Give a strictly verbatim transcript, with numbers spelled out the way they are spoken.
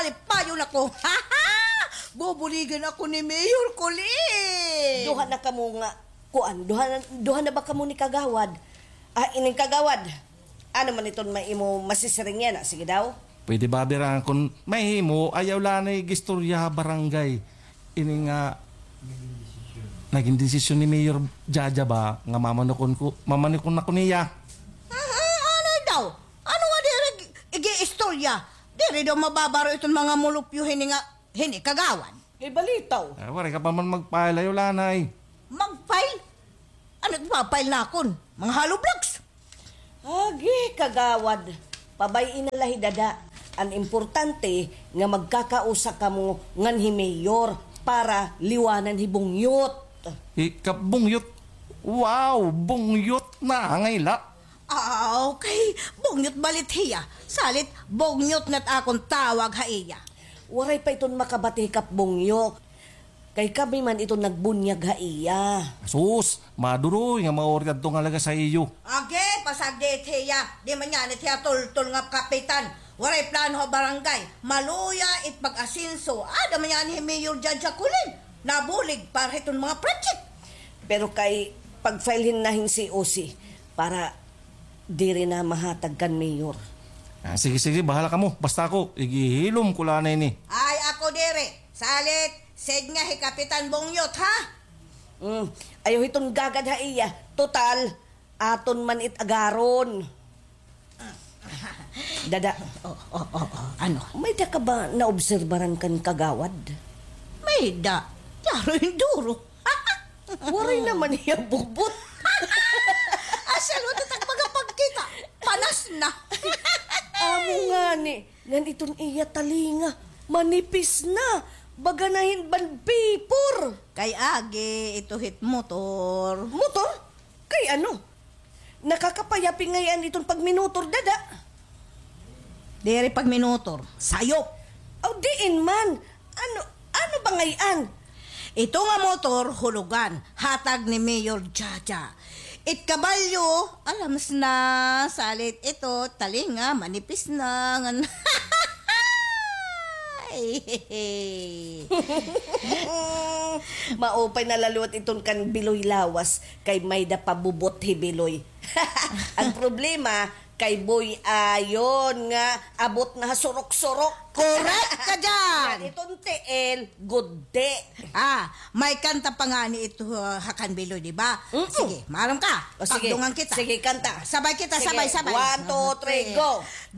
Alipayon ako. Bubuligan ako ni Mayor Colin. Duha na kamo nga, kuan, duha na, duha na ba kamo ni Kagawad? Ah, ining Kagawad. Ano man iton may imo masisiring yana? Sige daw. Pwede ba, Bira, kon mahimo, ayaw la anay ig-istorya ha barangay. Ini nga, nagin desisyon ni Mayor Jaja ba nga mamanukon ko, mamanukon ako niya. Mhm, ano daw? Ano nga diri ig-, ig-iistorya? Diri daw mababaro iton mga mulupyo hini nga, hini Kagawad. Kay balitaw. Ah, waray ka pa man mag-file, ayaw la anay. Mag-file? Ano it ipa-file nakon? Mga hollow blocks? Agi, Kagawad. Pabay-i na la hi Dada. An importante nga magkakausa kamo ngan hi Mayor para liwanan hi Bungyot. Hi Kap Bungyot? Wow, Bungyot na ngay la. Ah, okay. Bungyot bala it hiya. Salit, Bungyot na it akon tawag ha iya. Waray pa iton makabati hi Kap Bungyot. Kay kami man iton nagbunyag ha iya. Sus, maduroy nga mauri adto nga lagas ha iyo. Agi, pasagdi it hiya. Di man yana it hiya tultol nga kapitan. Waray plano ha barangay. Maluya it pag-asenso. Ada man yana hi Mayor Jaja Colin. Nabulig para hiton mga project. Pero kay pag-file hin na hin C O C para diri na mahatag kan mayor. Ah, sige, sige, bahala kamo. Basta ako, igihilom ko la anay ini. Ay, ako diri. Salit, sidnga hi Kapitan Bungyot, ha? Mm, ayaw hiton gagad ha iya. Total, aton man it agaron. Dada. Oh, oh, oh, oh. Ano? May-ada ka ba naobserbaran kan Kagawad? May-ada. Klaro hin duro. Waray naman hiya bubot. Asya, luto tag mga pagkita. Panas na. Amo ngani, ngan iton iya talinga, manipis na. Baga na hin bond paper. Kay agi, ito hit motor. Motor? Kay ano? Nakakapayapi ngay-an iton pagminotor, Dada. Diri pagminotor, sayop. Aw, diin man. Ano, ano ba ngay-an? Ito nga motor, hulugan, hatag ni Mayor Jaja. It kabalyo, alams na, salit ito, talinga, manipis na, ngan-, Maupay na la liwat iton kan Biloy lawas, kay may-ada pa bubot hi Biloy. An problema, kay Boy Ayon nga abot na ha surok-surok. Correct ka dyan! Ngan iton tiil, gudti. Ah, may kanta pa ngani ito, uh, ha kan Biloy, di ba? Mm-mm. Sige, maaram ka. O, sige. Pagdungan kita. Sige, kanta. Sabay kita, sige. Sabay, sabay. One, two, three, go.